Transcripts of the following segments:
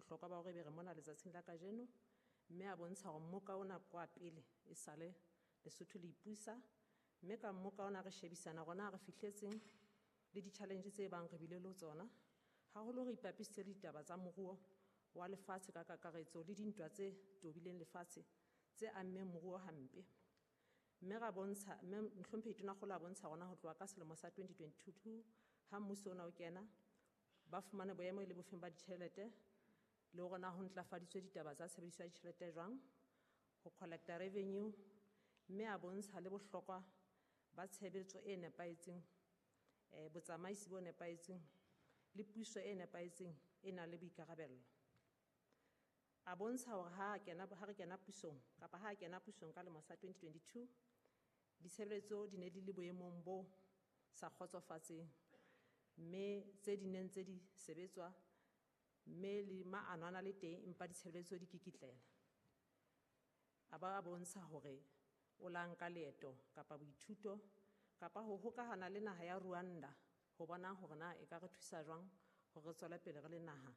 Bohlokwa ba hore ebe re mona letsatsing la kajeno, mme a bontsha hore mmoka ona kwa pele e sale Lesotho le ipusa, mme ka mmoka ona re shebisana rona re fihletseng le di-challenge tse bang re bile le tsona. Haholo re ipapisitse le ditaba tsa moruo wa lefatshe ka kakaretso le dintwa tse tobileng lefatshe tse ammeng moruo hampe. Mme ra bontsha, mme Mohlomphehi Tonakgolo a bontsha rona ho tloha ka selemo sa 2022 ha mmuso ona o kena, ba fumane boemo e le bofeng ba ditjhelete le hore na ho ntlafaditswe ditaba tsa tshebediso ya ditjhelete jwang, ho collecta revenue, mme a bontsha le bohlokwa ba tshebetso e nepahetseng, botsamaisi bo nepahetseng le puso e nepahetseng e nang le boikarabello. A bontsha hore ha kena, ha re kena pusong kapa ha kena pusong ka lemo sa 2022, ditshebeletso di ne di le boemong bo sa kgotsofatseng, mme tse di neng tse di sebetswa, mme le maano a na le teng empa ditshebeletso di kikitlela. A ba a bontsha hore o la nka leeto kapa boithuto kapa ho hokahana le naha ya Rwanda ho bona hore na e ka re thusa jwang hore re tswele pele re le naha.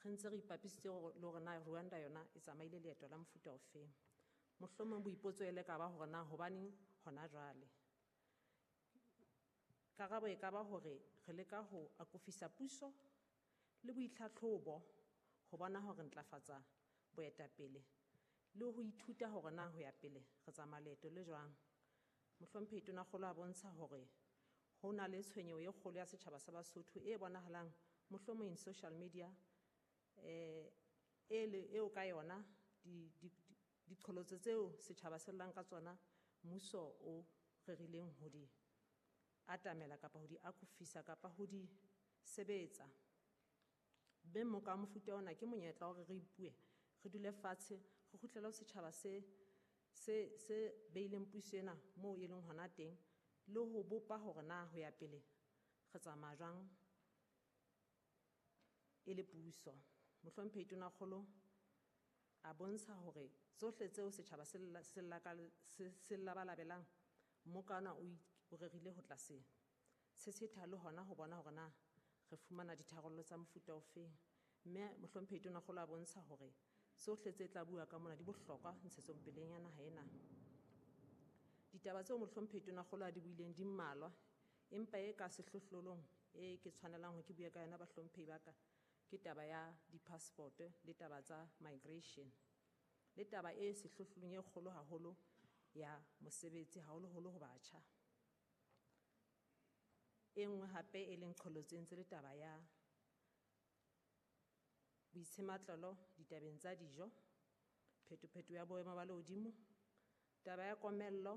Re ntse re ipapisitse le hore na Rwanda yona e tsamaile leeto la mofuta ofeng. Mohlomong boipotso e le ka ba hore na hobaneng hona jwale. Karabo e ka ba hore re leka ho akofisa puso le boitlhatlhobo ho bona hore ntlafatsa boetapele le ho ithuta hore na ho ya pele re tsamaya leeto le jwang. Mohlomphehi Tonakgolo a bontsha hore ho na le tshwenyeho e kgolo ya setjhaba sa Basotho e bonahalang mohlomong in social media, e le eo ka yona diqholotso tseo setjhaba se llang ka tsona mmuso o rerileng ho di atamela kapa ho di akofisa kapa ho di sebetsa. Mme mmoka wa mofuta ona ke monyetla wa hore re ipue, re dule fatshe, re kgutlele ho setjhaba se beileng puso ena moo e leng hona teng, le ho bopa hore na ho ya pele re tsamaya jwang e le puso. Mohlomphehi Tonakgolo a bontsha hore tsohle tseo setjhaba se labalabelang, mmoka ona o rerile ho tla se tshetsheta le hona ho bona hore na re fumana ditharollo tsa mofuta ofeng. Mme Mohlomphehi Tonakgolo a bontsha hore tsohle tse tla bua ka mona di bohlokwa ntshetsopeleng ya naha ena. Ditaba tseo Mohlomphehi Tonakgolo a di buileng di mmalwa, empa e ka sehlohlolong e ke tshwanelang hore ke bue ka yona bahlomphehi ba ka, ke taba ya di-passport le taba tsa migration, le taba e sehlohlolong e kgolo haholo ya mosebetsi haholoholo ho batjha. E nngwe hape e leng qholotso e ntse le taba ya boitshematlolo ditabeng tsa dijo, phetopheto ya boemo ba lehodimo, taba ya komello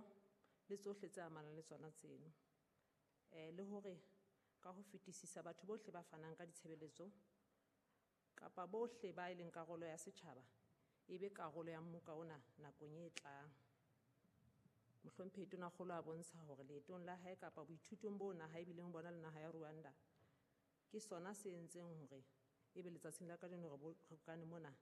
le tsohle tse amanang le tsona tseno. Le hore ka ho fetisisa batho bohle ba fanang ka ditshebeletso kapa bohle ba e leng karolo ya setjhaba e be karolo ya mmoka ona nakong e tlang. Mohlomphehi Tonakgolo a bontsha hore leetong la hae kapa boithutong bo naha e bileng bona le naha ya Rwanda, ke sona se entseng hore ebe letsatsing la kajeno re bokane mona,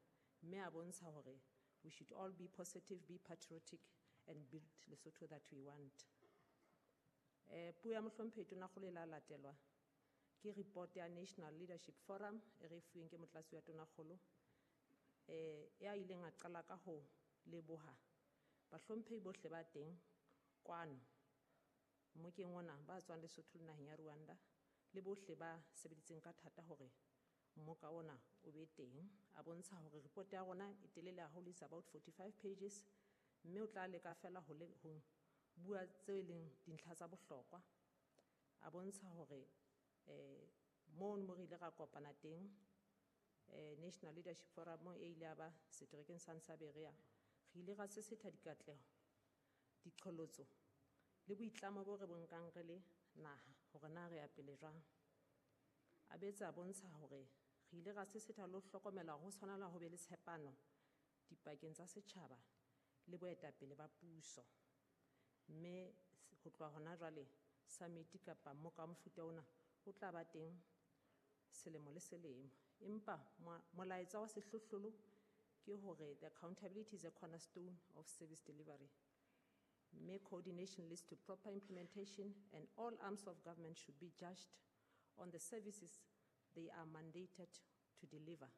mme a bontsha hore we should all be positive, be patriotic and build Lesotho that we want. Puo ya Mohlomphehi Tonakgolo e la latelwa ke report ya National Leadership Forum e re fuweng ke motlatsi wa Tonakgolo, ya ileng a qala ka ho leboha bahlomphehi bohle ba teng kwano mmokeng ona ba tswang Lesotho le naheng ya Rwanda le bohle ba sebeditseng ka thata hore mmoka ona o be teng. A bontsha hore report ya rona e telele haholo, is about 45 pages, mme o tla leka fela ho bua tseo e leng dintlha tsa bohlokwa. A bontsha hore, mono mo re ile ra kopana teng, National Leadership Forum e ile ya ba seterekeng sa Nsaberea, re ile ra sesetha dikatleho, diqholotso le boitlamo bo re bo nkang re le naha hore na re ya pele jwang. A boetse a bontsha hore re ile ra sesetha le ho hlokomela hore ho tshwanela ho be le tshepano dipakeng tsa setjhaba le boetapele ba puso. Mme ho tloha hona jwale summit kapa mmoka wa mofuta ona o tla ba teng selemo le selemo. Empa molaetsa wa sehlohlolo ke hore the accountability is a cornerstone of service delivery. Mme coordination leads to proper implementation, and all arms of government should be judged on the services they are mandated to deliver.